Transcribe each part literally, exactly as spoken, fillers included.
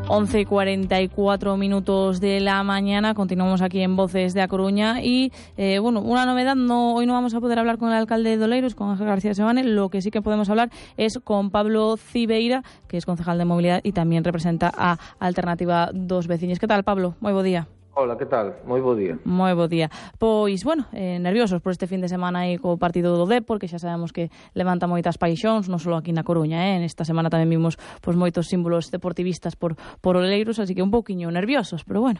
once y cuarenta y cuatro minutos de la mañana, continuamos aquí en Voces de A Coruña y, eh, bueno, una novedad, no, hoy no vamos a poder hablar con el alcalde de Oleiros, con Ángel García Sebane. Lo que sí que podemos hablar es con Pablo Cibeira, que es concejal de movilidad y también representa a Alternativa dos Veciños. Que tal, Pablo? Moi bo día. Hola, que tal? Moi bo día. Moi bo día. Pois, bueno, eh, nerviosos por este fin de semana aí co partido do Dépor, que xa sabemos que levanta moitas paixóns, non só aquí na Coruña, eh? Esta semana tamén vimos pois, moitos símbolos deportivistas por, por Oleiros, así que un pouquiño nerviosos, pero bueno.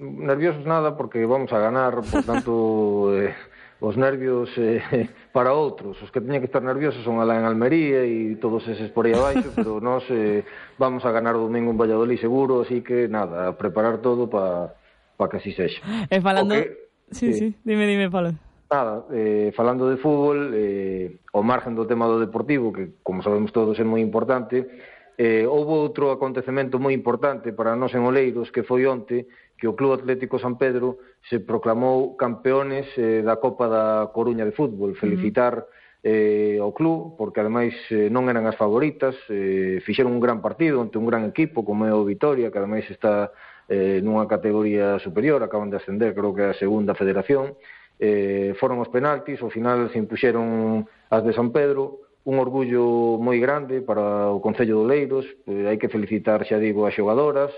Nerviosos nada, porque vamos a ganar, por tanto, eh, os nervios eh, para outros. Os que teñen que estar nerviosos son alá en Almería e todos eses por aí abaixo, pero nós eh, vamos a ganar o domingo en Valladolid seguro, así que nada, a preparar todo para para que así sexa. E falando... Okay. Sí, sí, sí, dime, dime, Pablo. Nada, eh, falando de fútbol, eh, ao margen do tema do deportivo, que, como sabemos todos, é moi importante, eh, houve outro acontecemento moi importante para nós en Oleiros, que foi onte, que o Club Atlético San Pedro se proclamou campeones eh, da Copa da Coruña de Fútbol. Felicitar eh, ao club, porque ademais eh, non eran as favoritas, eh, fixeron un gran partido ante un gran equipo, como é o Vitoria, que ademais está eh, nunha categoría superior, acaban de ascender, creo que é a segunda federación. Eh, foron os penaltis, ao final se impuxeron as de San Pedro, un orgullo moi grande para o Concello de Oleiros. Eh, hai que felicitar, xa digo, as xogadoras,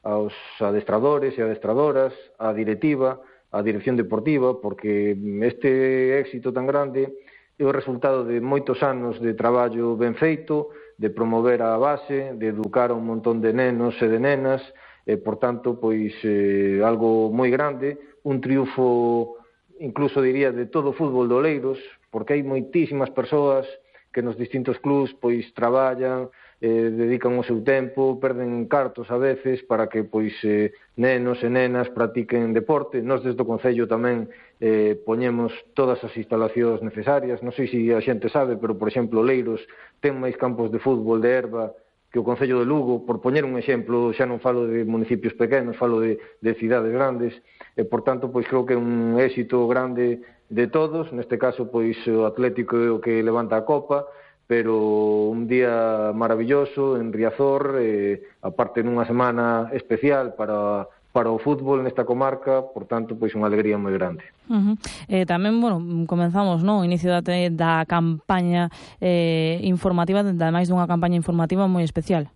aos adestradores e adestradoras, a directiva, a dirección deportiva, porque este éxito tan grande é o resultado de moitos anos de traballo ben feito, de promover a base, de educar a un montón de nenos e de nenas, e, por tanto, pois, eh, algo moi grande, un triunfo, incluso diría, de todo o fútbol de Oleiros, porque hai moitísimas persoas que nos distintos clubs pois traballan, eh, dedican o seu tempo, perden cartos a veces para que pois eh, nenos e nenas practiquen deporte. Nós desde o Concello tamén eh, poñemos todas as instalacións necesarias. Non sei se a xente sabe, pero, por exemplo, Oleiros ten máis campos de fútbol de herba que o Concello de Lugo, por poñer un exemplo. Xa non falo de municipios pequenos, falo de, de cidades grandes, e, por tanto, pois creo que é un éxito grande de todos. Neste caso, pois o Atlético é o que levanta a Copa, pero un día maravilloso en Riazor, eh, aparte nunha semana especial para para o fútbol nesta comarca, por tanto, pois unha alegría moi grande. Uh-huh. Eh, tamén, bueno, comenzamos, no, o inicio da, da campaña eh, informativa, ademais dunha campaña informativa moi especial.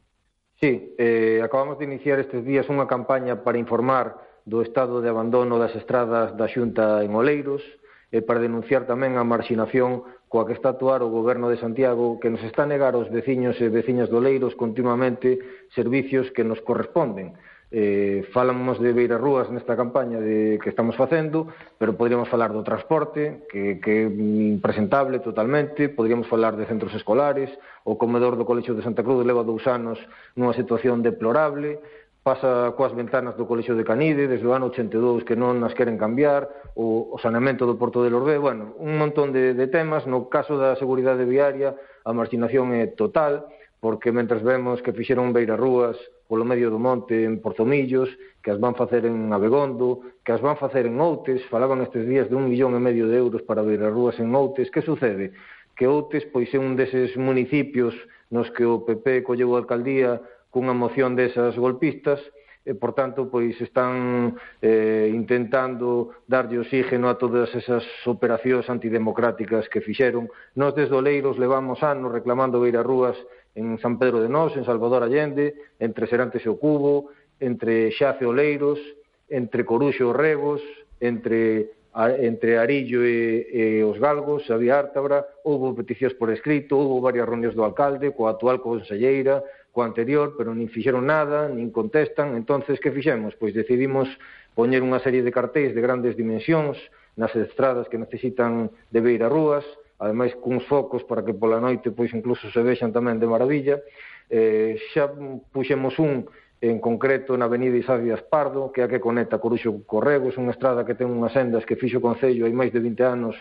Sí, eh, acabamos de iniciar estes días unha campaña para informar do estado de abandono das estradas da Xunta en Oleiros, e para denunciar tamén a marxinación coa que está a actuar o Goberno de Santiago, que nos está a negar aos veciños e veciñas de Oleiros continuamente servicios que nos corresponden. Eh, falamos de beirarrúas nesta campaña de, que estamos facendo, pero podríamos falar do transporte, que, que é impresentable totalmente, podríamos falar de centros escolares, o comedor do Colexio de Santa Cruz leva dous anos nunha situación deplorable, pasa coas ventanas do Colexio de Canide desde o ano ochenta e dous que non as queren cambiar, o, o saneamento do Porto de Lordé, bueno, un montón de, de temas. No caso da seguridade viaria, a marxinación é total, porque mentres vemos que fixeron beirarrúas polo medio do monte en Porzomillos, que as van facer en Abegondo, que as van facer en Outes, falaban estes días de un millón e medio de euros para beirarrúas en Outes. Que sucede? Que Outes pois é un deses municipios nos que o P P colleu a alcaldía cunha moción desas golpistas, e, por tanto, pois están eh, intentando darlle oxígeno a todas esas operacións antidemocráticas que fixeron. Nós desde Oleiros levamos anos reclamando beirarrúas en San Pedro de Nós, en Salvador Allende, entre Serantes e o Cubo, entre Xace e Oleiros, entre Coruxo e Regos, entre entre Arillo e, e os Galgos, había Ártabra. Houve peticións por escrito, houve varias reunións do alcalde, coa actual conselleira, coa anterior, pero nin fixeron nada, nin contestan. Entonces, que fixemos? Pois decidimos poñer unha serie de cartéis de grandes dimensións nas estradas que necesitan de beirarrúas, ademais cuns focos para que pola noite pois incluso se vexan tamén de maravilla. Eh, xa puxemos un en concreto na avenida Isaías Pardo, que é a que conecta Coruxo co Regos, unha estrada que ten unhas sendas que fixo o Concello hai máis de vinte anos,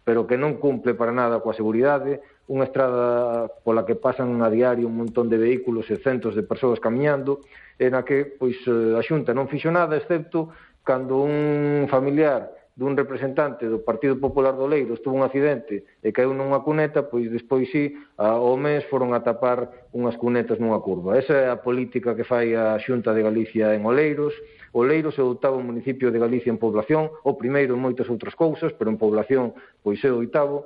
pero que non cumple para nada coa seguridade, unha estrada pola que pasan a diario un montón de vehículos e centos de persoas camiñando, e na que pois a Xunta non fixo nada, excepto cando un familiar dun representante do Partido Popular do Oleiros tuvo un accidente e caeu nunha cuneta, pois despois sí, ao mes foron a tapar unhas cunetas nunha curva. Esa é a política que fai a Xunta de Galicia en Oleiros. Oleiros é o oitavo municipio de Galicia en población, o primeiro en moitas outras cousas, pero en población pois é o oitavo,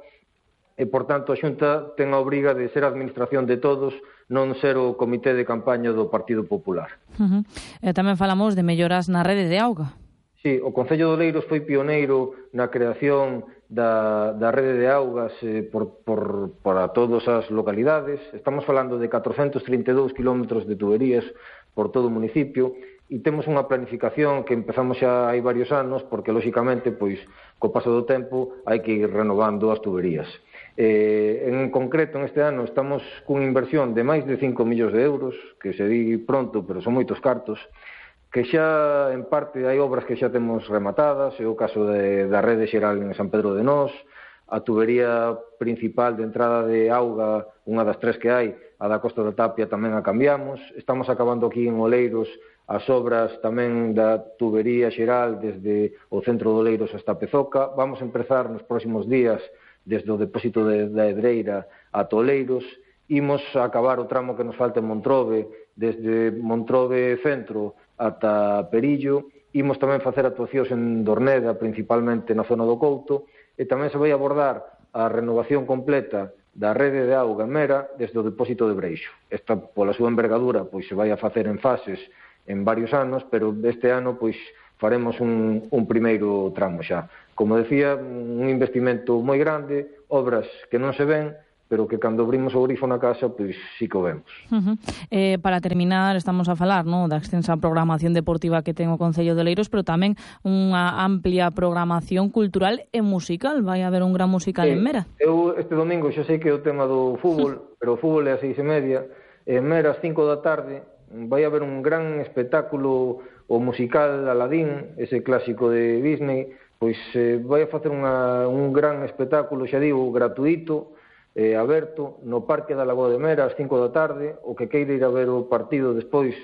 e, por tanto, a Xunta ten a obriga de ser a administración de todos, non ser o comité de campaña do Partido Popular. Uh -huh. E tamén falamos de melloras na rede de auga. Sí, o Concello de Oleiros foi pioneiro na creación da, da rede de augas eh, por, por, para todas as localidades. Estamos falando de catrocentos trinta e dous kilómetros de tuberías por todo o municipio e temos unha planificación que empezamos xa hai varios anos porque, lóxicamente, pois, co paso do tempo hai que ir renovando as tuberías. Eh, en concreto, en este ano, estamos cunha inversión de máis de cinco millóns de euros, que se di pronto, pero son moitos cartos, que xa, en parte, hai obras que xa temos rematadas, é o caso de, da rede xeral en San Pedro de Nós, a tubería principal de entrada de auga, unha das tres que hai, a da Costa da Tapia, tamén a cambiamos. Estamos acabando aquí en Oleiros as obras tamén da tubería xeral desde o centro de Oleiros hasta Pezoca. Vamos a empezar nos próximos días desde o depósito de, da Edreira a Oleiros. Imos a acabar o tramo que nos falta en Montrobe, desde Montrobe Centro ata Perillo. Imos tamén facer actuacións en Dorneda, principalmente na zona do Couto, e tamén se vai abordar a renovación completa da rede de auga en Mera desde o depósito de Breixo. Esta, pola súa envergadura, pois se vai a facer en fases en varios anos, pero este ano pois faremos un, un primeiro tramo xa. Como decía, un investimento moi grande, obras que non se ven, pero que cando abrimos o grifo na casa, pois sí que o vemos. Uh -huh. eh, para terminar, estamos a falar, ¿no?, da extensa programación deportiva que ten o Concello de Oleiros, pero tamén unha amplia programación cultural e musical. Vai haber un gran musical sí, en Mera. Eu este domingo xa sei que é o tema do fútbol, pero o fútbol é a seis e media. En Mera, ás cinco da tarde, vai haber un gran espectáculo, o musical Aladín, ese clásico de Disney, pois eh, vai a facer unha, un gran espectáculo, xa digo, gratuito, eh, aberto, no Parque da Lagoa de Mera, ás cinco da tarde. O que queira ir a ver o partido despois,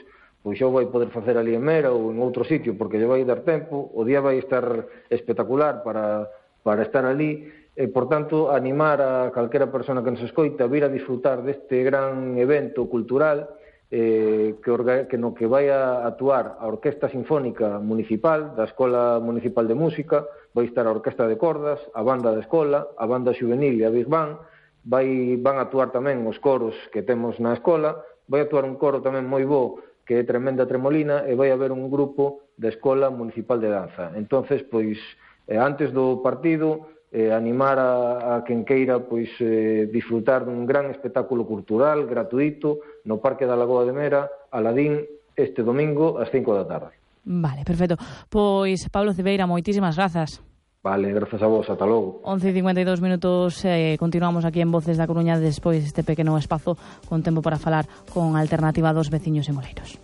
pois xa o vai poder facer ali en Mera ou en outro sitio, porque lle vai dar tempo. O día vai estar espectacular para, para estar ali. E, por tanto, animar a calquera persona que nos escoita a vir a disfrutar deste gran evento cultural, eh, que, orga, que no que vai a actuar a Orquesta Sinfónica Municipal da Escola Municipal de Música, vai estar a Orquesta de Cordas, a Banda de Escola, a Banda Xuvenil e a Big Band. Vai, van a actuar tamén os coros que temos na escola, vai actuar un coro tamén moi bo, que é Tremenda Tremolina, e vai haber un grupo da Escola Municipal de Danza. Entonces, pois, eh, antes do partido, eh, animar a, a quen queira pois, eh, disfrutar dun gran espectáculo cultural, gratuito, no Parque da Lagoa de Mera, Aladín, este domingo, ás cinco da tarde. Vale, perfecto. Pois, Pablo Cebeira, moitísimas grazas. Vale, grazas a vos, ata logo. once e cincuenta e dous minutos, eh, continuamos aquí en Voces da Coruña despois deste pequeno espazo con tempo para falar con a Alternativa dos veciños en Oleiros.